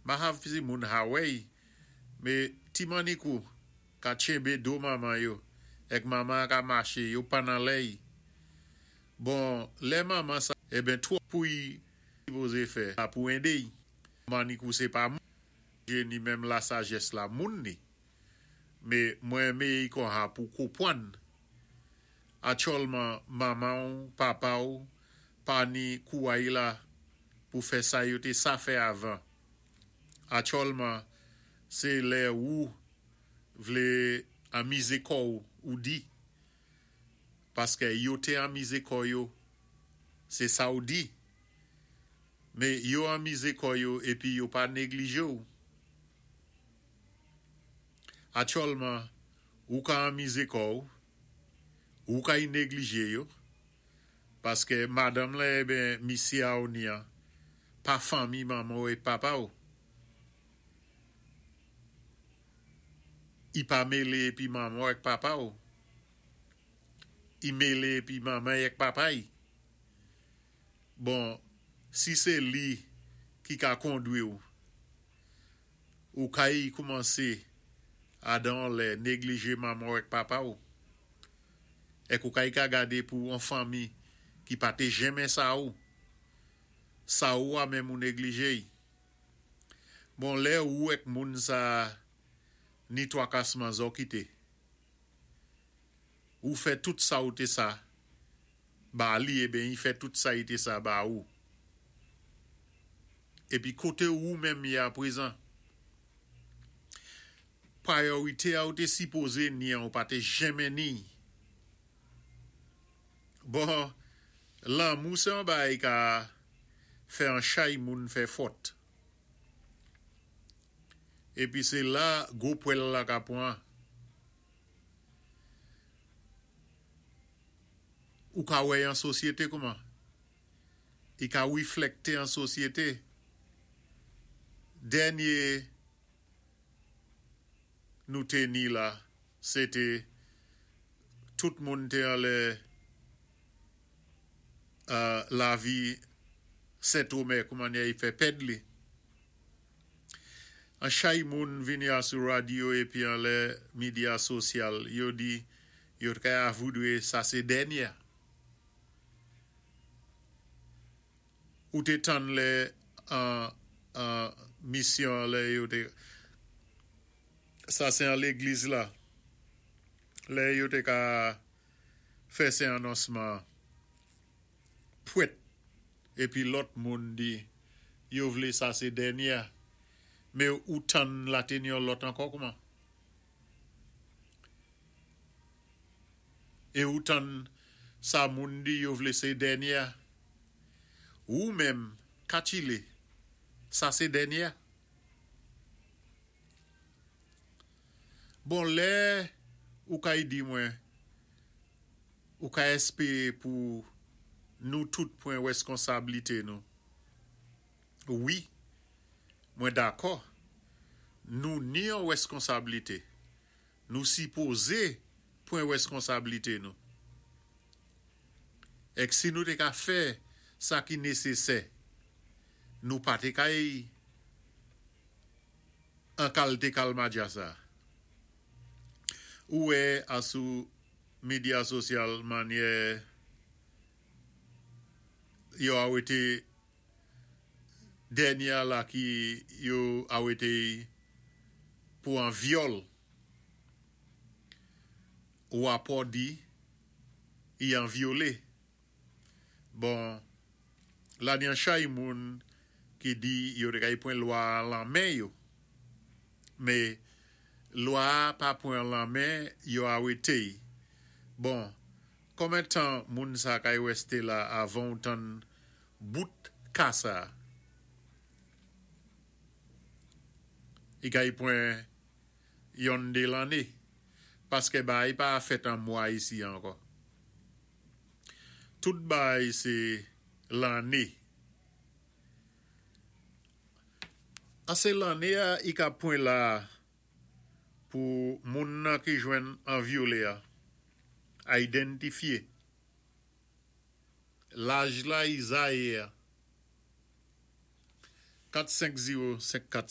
Ma hav si moun Hawaii, mé ti mannikou ka tchenbé do manman yo, èk manman ka maché, yo pann anlè. Bon, lè manman sa, eben twòp pou i sipozé fè pou édé. Mannikou sé pa ni menm la sajès la moun ni. Mé mwen méyé konsa pou konpwann. Aktyèlman manman papa ou pa ni kouway la pou fè sa yo té sa fè avan. Aktyèlman sé lè ou vlé anmizé kò ou di. Paské yo té anmizé kò yo, sé sa ou di. Mé yo anmizé kò yo épi yo pa néglijé ou. Aktyèlman, ou ka anmizé kò ou, ou ka y néglijé yo, paské madanm la eben misyé a ou ni an, pa fanmi manman ou é papa ou. I pa mélé épi manman èk papa ou. I mélé épi manman èk papa i. Bon, si sé li ki ka kondwi ou, ou ka y koumansé adan lè néglijé manman èk papa ou. Èk ou ka y ka gadé pou an fanmi ki pa té jenmen sa ou. Sa ou a menm ou néglijé. Bon, lè ou èk moun sa ni twakasman zo kité. Ou fè tout sa ou té sa, ba li eben i fè tout sa i té sa ba ou. Épi koté ou menm yé aprezan. Priyorité a ou té sipozé ni an ou pa té jenmen ni. Bon, lanmou sé an bagay ka fè an chay moun fè fòt. Épi sé la gwo pwèl la ka pwan. Ou ka wè an sosyété kouman? I ka wiflèkté an sosyété. Dènyé nou té ni la, sé té tout moun té anlè lavi Sentomè kouman i fè pèd li. An chay moun vini a sou radyo épi anlè medya sosyal, yo di yo ka voudwé sa sé dènyé. Ou té tann lè an misyon lè yo té sa sé an légliz la. Lè yo té ka fè sé anonsman pwèt épi lòt moun di yo vlé sa sé dènyé. Mé ou tann la té ni yon lòt ankò kouman? É ou tann sa moun di yo vlé sé dènyé. Ou menm katchilé, sa sé dènyé. Bon, lè ou kay di mwen, ou ka èspéwé pou nou tout pwan wèskonsablité nou. Wi, mwen dakò, nou ni an wèskonsablité. Nou sipozé pwan wèskonsablité nou. Èk si nou té ka fè sa ki nésésè, nou pa té kay an kalité kalmadja sa. Ou wè asou medya sosyal manyè yo awété dènyé la ki yo awété pou an vyòl. Wapò di i an vyolé. Bon, la ni an chay moun ki di yo té kay pwan lwa lan men yo. Mé lwa pa pwan lan men yo awété. Bon, konmen tan moun sa kay wèsté la avan ou tann bout ka sa? I kay pwan yon dé lanné. Paské bagay pa fèt an mwa isi ankò. Tout bagay sé lanné. An sé lanné a i ka pwan la pou moun nan ki jwenn an vyolé a idantifyé. Laj la i zayé a. 4 5 0 5 4.